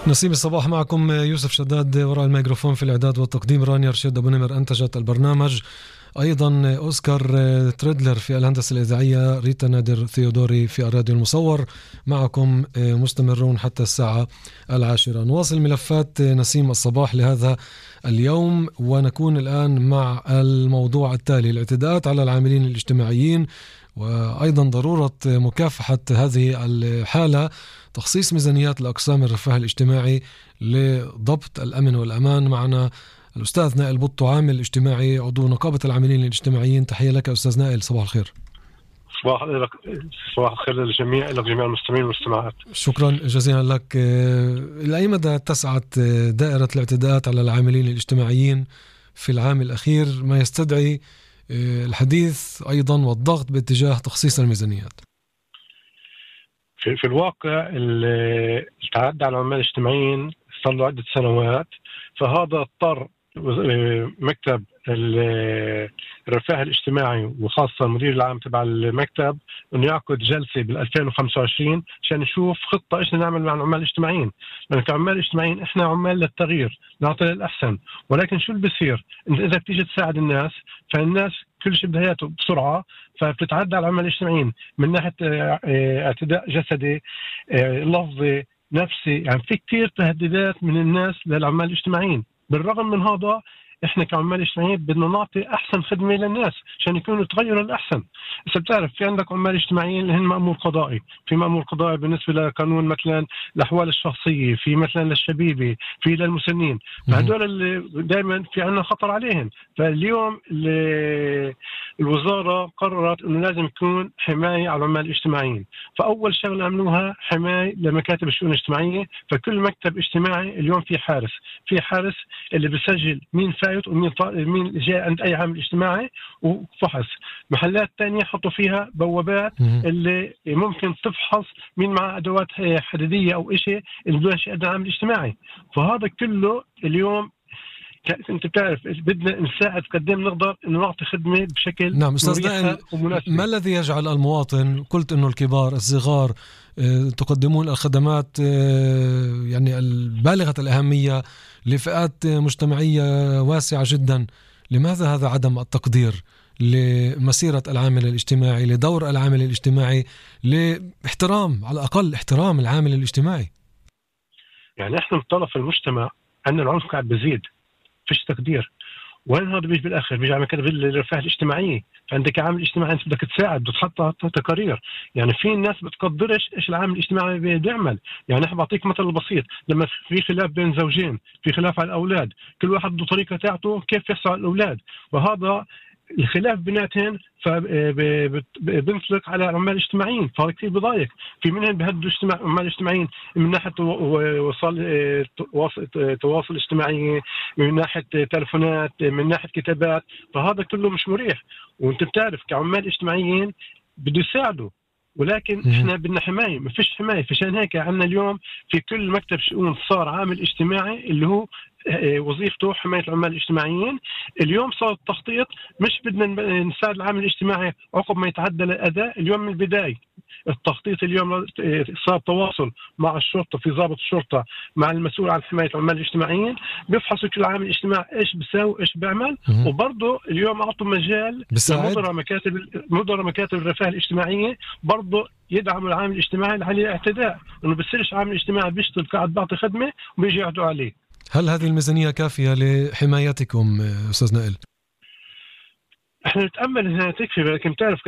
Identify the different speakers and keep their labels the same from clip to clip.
Speaker 1: نسيم الصباح معكم يوسف شداد وراء الميكروفون، في الإعداد والتقديم رانيا رشيد أبو نمر أنتجت البرنامج، أيضا أوسكار تريدلر في الهندسة الإذاعية، ريتا نادر ثيودوري في الراديو المصور. معكم مستمرون حتى الساعة 10. نواصل ملفات نسيم الصباح لهذا اليوم، ونكون الآن مع الموضوع التالي: الاعتداءات على العاملين الاجتماعيين، وأيضا ضرورة مكافحة هذه الحالة، تخصيص ميزانيات لأقسام الرفاه الاجتماعي لضبط الأمن والأمان. معنا الأستاذ نائل بطو، عامل اجتماعي، عضو نقابة العاملين الاجتماعيين. تحية لك أستاذ نائل، صباح الخير.
Speaker 2: صباح الخير للجميع، إلى جميع المستمعين والمستمعات.
Speaker 1: شكرا جزيلا لك. لأي مدى تسعت دائرة الاعتداءات على العاملين الاجتماعيين في العام الأخير، ما يستدعي الحديث أيضا والضغط باتجاه تخصيص الميزانيات؟
Speaker 2: في الواقع التعدي على العمال الاجتماعيين صار له عدة سنوات، فهذا اضطر مكتب الرفاه الاجتماعي وخاصة المدير العام تبع المكتب انه يعقد جلسة بال2025 عشان نشوف خطة ايش نعمل مع العمال الاجتماعيين. لأن كعمال اجتماعيين احنا عمال للتغيير، نعطي للأحسن، ولكن شو اللي بيصير؟ انت اذا بتيجي تساعد الناس، فالناس كل شيء بدهياته بسرعة، فبتتعدى على العمال الاجتماعيين من ناحية اعتداء جسدي، لفظي، نفسي. يعني في كتير تهديدات من الناس للعمال الاجتماعيين. بالرغم من هذا احنا كعمال اجتماعيين بدنا نعطي احسن خدمه للناس عشان يكونوا يتغيروا الاحسن. بس بتعرف في عندك عمال اجتماعيين اللي هن مأمور قضائي، في مأمور قضائي بالنسبه لقانون مثلا الاحوال الشخصيه، في مثلا للشبيبه، في للمسنين، فهدول اللي دائما في عندنا خطر عليهم. فاليوم الوزاره قررت انه لازم يكون حمايه على العمال الاجتماعيين. فاول شغله عملوها حمايه لمكاتب الشؤون الاجتماعيه. فكل مكتب اجتماعي اليوم في حارس اللي بيسجل مين فايت ومين جاء عند اي عامل اجتماعي وفحص. محلات تانية حطوا فيها بوابات اللي ممكن تفحص مين مع ادوات حديديه او شيء اللي بدون شيء عامل اجتماعي. فهذا كله اليوم انت بتعرف بدنا نساعد قدام نقدر انه نعطي خدمه بشكل
Speaker 1: نعم. استاذ نائل، ما الذي يجعل المواطن، قلت انه الكبار الصغار تقدمون الخدمات يعني البالغة الأهمية لفئات مجتمعية واسعة جدا، لماذا هذا عدم التقدير لمسيرة العامل الاجتماعي، لدور العامل الاجتماعي، لاحترام على الأقل احترام العامل الاجتماعي؟
Speaker 2: يعني احنا مطلع في المجتمع أن العنف قاعد بزيد، فيش تقدير. وين هذا بيجي بالاخر؟ بيجي على مكاتب الرفاه الاجتماعيه. فعندك عامل اجتماعي انت بدك تساعد، بدك تحط تقارير. يعني في ناس بتقدرش ايش العامل الاجتماعي بيعمل. يعني احنا بعطيك مثل بسيط، لما في خلاف بين زوجين، في خلاف على الاولاد، كل واحد له طريقه تاعته كيف يحصل على الاولاد، وهذا الخلاف بيناتهم فبنطلق على العمال الاجتماعيين. فهذا كثير بضايق. في منهم بهدوا العمال الاجتماعيين من ناحيه تواصل اجتماعي، من ناحيه تلفونات، من ناحيه كتابات. فهذا كله مش مريح. وانت بتعرف كعمال اجتماعيين بده يساعدوا، ولكن احنا بدنا حمايه، ما فيش حمايه. فعشان هيك عندنا اليوم في كل مكتب شؤون صار عامل اجتماعي اللي هو وظيفته حماية العمال الاجتماعيين. اليوم صار التخطيط، مش بدنا نساعد العامل الاجتماعي عقب ما يتعدى الأداء. اليوم من البداية التخطيط اليوم صار تواصل مع الشرطة، في ضابط الشرطة مع المسؤول عن حماية العمال الاجتماعيين، بيفحصوا كل عامل اجتماعي ايش بيساوي ايش بيعمل. وبرضه اليوم اعطوا مجال مدراء مكاتب الرفاه الاجتماعية برضه يدعموا العامل الاجتماعي اللي عليه اعتداء، انه بيصيرش عامل اجتماعي بيشتغل قاعد بعطي خدمة وبيجي يعدوا عليه.
Speaker 1: هل هذه الميزانية كافية لحمايتكم أستاذ نائل؟
Speaker 2: احنا نتأمل انها تكفي، لكن تعرف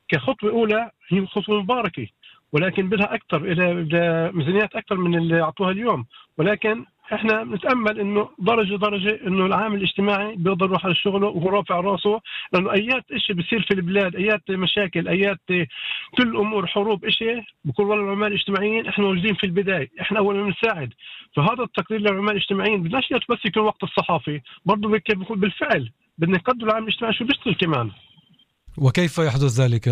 Speaker 2: كخطوة أولى هي خطوة مباركة، ولكن بدها أكثر، بدها ميزانيات أكثر من اللي أعطوها اليوم. ولكن احنا نتأمل انه درجة انه العامل الاجتماعي بيقدر يروح على شغله وهو رافع راسه. لانه ايات اشي بيصير في البلاد، ايات مشاكل، ايات كل امور حروب اشي بكون والله العمال الاجتماعيين احنا موجودين في البداية، احنا اول ما نساعد. فهذا التقدير للعمال الاجتماعيين بدناش بس يكون وقت الصحافي، برضه بيكون بالفعل بدنا نقدر العامل الاجتماعي شو بيشتغل كمان.
Speaker 1: وكيف يحدث ذلك